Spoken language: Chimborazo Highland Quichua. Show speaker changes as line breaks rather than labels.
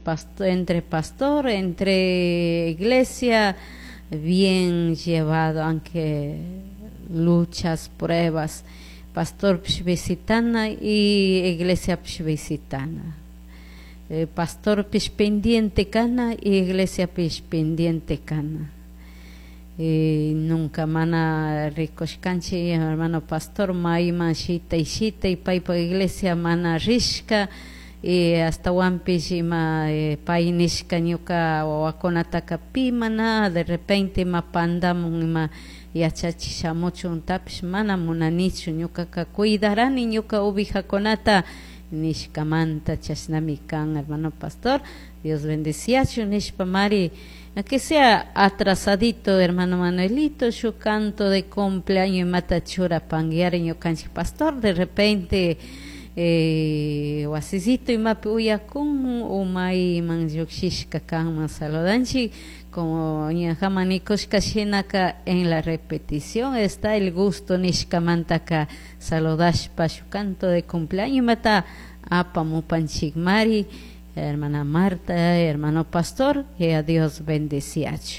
Kan entre pastor, entre iglesia, bien llevado, aunque luchas, pruebas, pastorpish visitana y iglesiapish visitana. Pastorpish pendiente kana y iglesiapish pendiente kana. Nunca mana rikushkanchik hermano pastor mayman shitay shitay paypak iglesia mana rishka y ashtawanpish ima pay nishka ñuka wawakunataka pi mana de repente ima pandamun ima yachachi shamuchuntapish mana munanichu ñukaka cuidarani ñuka ovejakunata nishkamanta chashnami kan hermano pastor. Dios bendeciachun nishpa mari, aunque sea atrasadito, hermano Manuelito, su canto de cumpleaños imata churapanguiari ñukanchik pastor, de repente wasisito imapi uyakun o mayman llukshishka kanman. Saludanchik como ñajaman nikushka shinaka, en la repetición está el gusto nishkamantaka saludashpa shu canto de cumpleaños imata apamupanchikmari, hermana Marta, hermano pastor, que a Dios bendeciachu.